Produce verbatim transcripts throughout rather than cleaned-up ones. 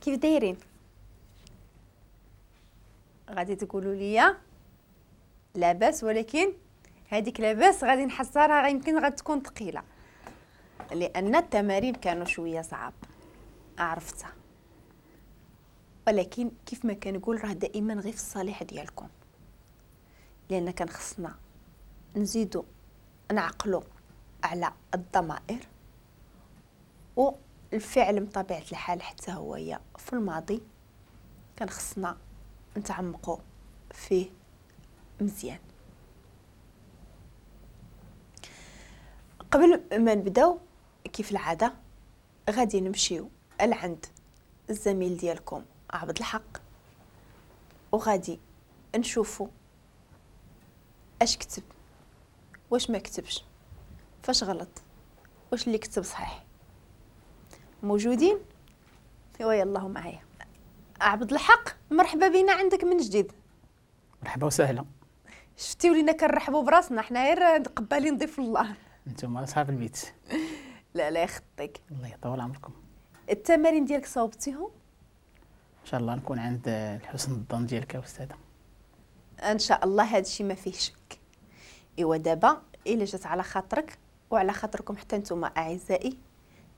كيف دايرين؟ غادي تقولوا لي لاباس، ولكن هذيك لاباس غادي نحصرها، يمكن غتكون ثقيلة لان التمارين كانوا شوية صعاب، عرفتها، ولكن كيف ما كنقول راه دائما غير في الصالح ديالكم، لان كان خصنا نزيدو نعقلو على الضمائر والفعل بطبيعة الحال حتى هو في الماضي كان خصنا نتعمقوا فيه مزيان. قبل ما نبداو كيف العادة غادي نمشيو لعند الزميل ديالكم عبد الحق وغادي نشوفوا اش كتب واش ما كتبش، فاش غلط، واش اللي كتب صحيح. موجودين؟ ايوا يلاه معايا. عبد الحق مرحبا بينا عندك من جديد. مرحبا وسهلا. شفتي ولينا كنرحبوا براسنا حنا غير قبالين ضيف الله. انتم اصحاب البيت. لا لا يخطيك. الله يطول عمركم. التمارين ديالك صوبتيهم؟ ان شاء الله نكون عند الحسن الظن ديالك يا استاذه. ان شاء الله هذا الشيء ما فيه شك. ايوا دابا الا جات على خاطرك وعلى خاطركم حتى نتوما اعزائي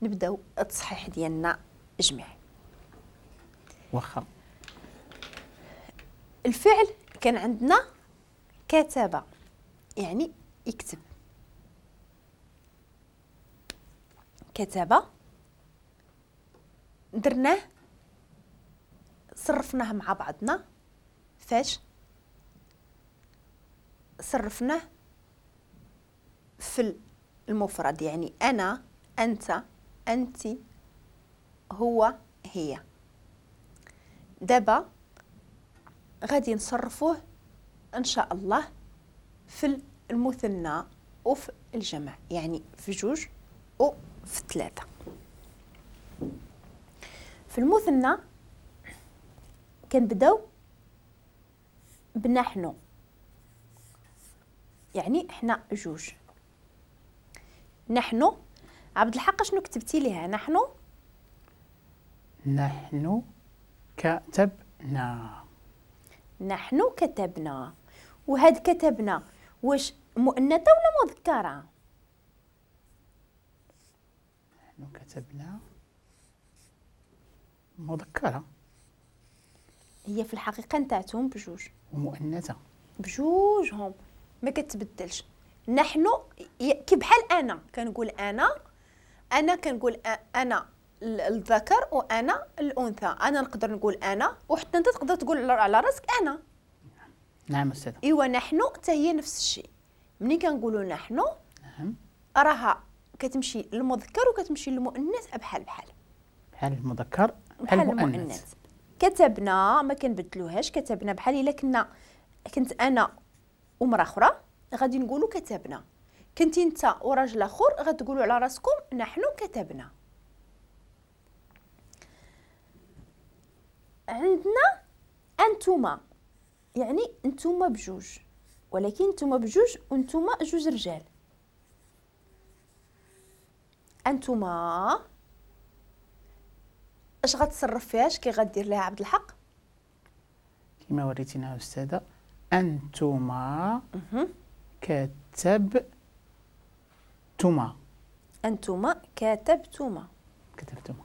نبداو التصحيح ديالنا جميع. واخا. الفعل كان عندنا كتب، يعني يكتب. كتب درناه صرفناه مع بعضنا، فاش صرفناه في المفرد، يعني أنا، أنت، أنت، هو، هي. دابا غادي نصرفوه إن شاء الله في المثنى وفي الجمع، يعني في جوج وفي ثلاثة. في المثنى كنبداو بنحن، يعني حنا جوج. نحن. عبد الحق شنو كتبتي ليها؟ نحن نحن كتبنا. نحن كتبنا. وهاد كتبنا واش مؤنثة ولا مذكرة؟ نحن كتبنا مذكرة. هي في الحقيقة نتاعتهم بجوج ومؤنثة بجوجهم، ما كتبدلش. نحن كي بحال انا كنقول انا، انا كنقول انا الذكر وانا الانثى، انا نقدر نقول انا وحتى انت تقدر تقول على راسك انا. نعم استاذ. ايوا نحن حتى هي نفس الشيء. ملي كنقولوا نحن نعم راها كتمشي للمذكر وكتمشي للمؤنث بحال بحال بحال المذكر بحال المؤنث. كتبنا ما كنبدلوهاش، كتبنا بحال الا كنا كنت انا ومراة اخرى غادي نقولوا كتبنا، كنتي انت وراجل اخر غتقولوا على راسكم نحن كتبنا. عندنا انتما، يعني انتما بجوج، ولكن انتما بجوج وانتما جوج رجال. انتما اش غتصرف فيها؟ اش كي غدير لها عبد الحق؟ كما وريتينا استاذه، انتما كتبتما. انتما كتبتما. كتبتما.